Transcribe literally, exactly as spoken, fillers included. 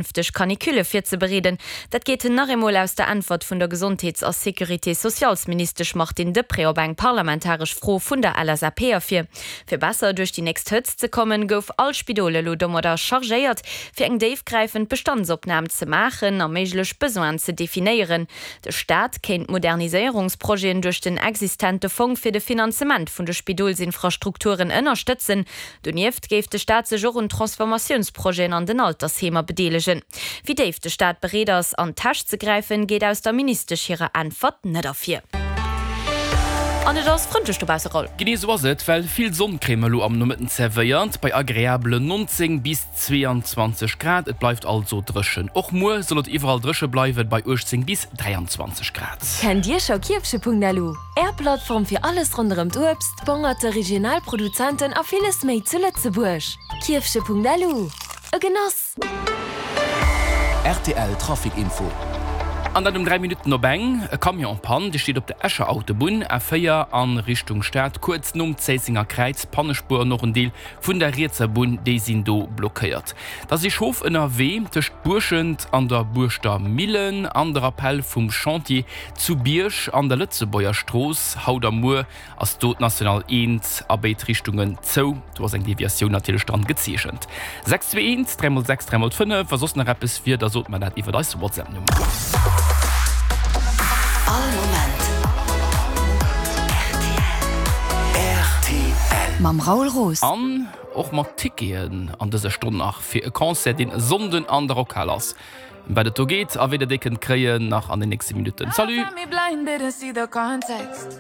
Zukünfteg Canicule virzebereeden. Dat geet nach eemol aus der Äntwert vun der Gesondheets a Sécurité-sociales-Ministesch Martine Deprez op eng parlamentaresch Fro vun der L S A P ervir. Fir besser duerch déi nächst Hëtzt ze kommen, gouf all Spidol elo domadder chargéiert, fir eng déifgräifend Bestandsopnam ze maachen a méiglech Besoinen ze definéieren. De Staat kéint Moderniséierungsprojeten duerch den existente Fong fir de Finanzement vun de Spidolsinfrastrukturen ënnerstëtzen. Donieft géif de Staat sech och un Transformatiounsprojeten an den Altersheemer bedeelegen. Wéi déif de Staat bereet ass, an d'Täsch ze gräifen, geet aus der Ministesch hirer Äntwert net ervir. An et ass frëndlech dobausse, Raoul. Genee sou ass et, well vill Sonn kréie mer elo am Nomëtten zerwéiert, bei agreabelen neunzéng bis zweeanzwanzeg Grad. Et bleift also dréchen. Och muer soll et iwwerall dréche bleiwen, bei uechtzéng bis dräianzwanzeg Grad. Kennt Dir scho Kierfche Punkt L U? Är Plattform fir alles ronderëm d'Uebst, Bongerte, regional Produzenten a villes méi zu Lëtzebuerg. Kierfche Punkt L U. E Genoss! R T L Trafic Info. An dat um dräi Minutten op eng. E Camion en panne, dee steet op der Escher Autobunn, A véier a Richtung Stad, kuerz nom Zéissenger Kräiz. D'Pannespuer an och en Deel vun der rietser Bunn, déi sinn do blockéiert. Da si Schof ënnerwee tëscht Buerschent an der Buerschter Millen an de Rappel vum Chantier zu Bierg an der Lëtzebuerger Strooss. Haut a muer ass do d'National eent a béid Richtungen zou. Do ass eng Deviatioun natierlech dran gezeechent. sechs zwee eent dräi mol sechs dräi mol fënnef. Wa soss nach eppes wier, da sot mer dat iwwer eis WhatsApp-Nummer. All Moment R T L. Mam Raoul Roos. An och mat Ticketen an dëser Stonn nach fir e Concert, deen e Sonnden an der Rockhal ass. Ëm wat et do geet a wéi der déi kënnt kréien, nach an den nächste Minutten. Salut! Got me blind, didn't see the context.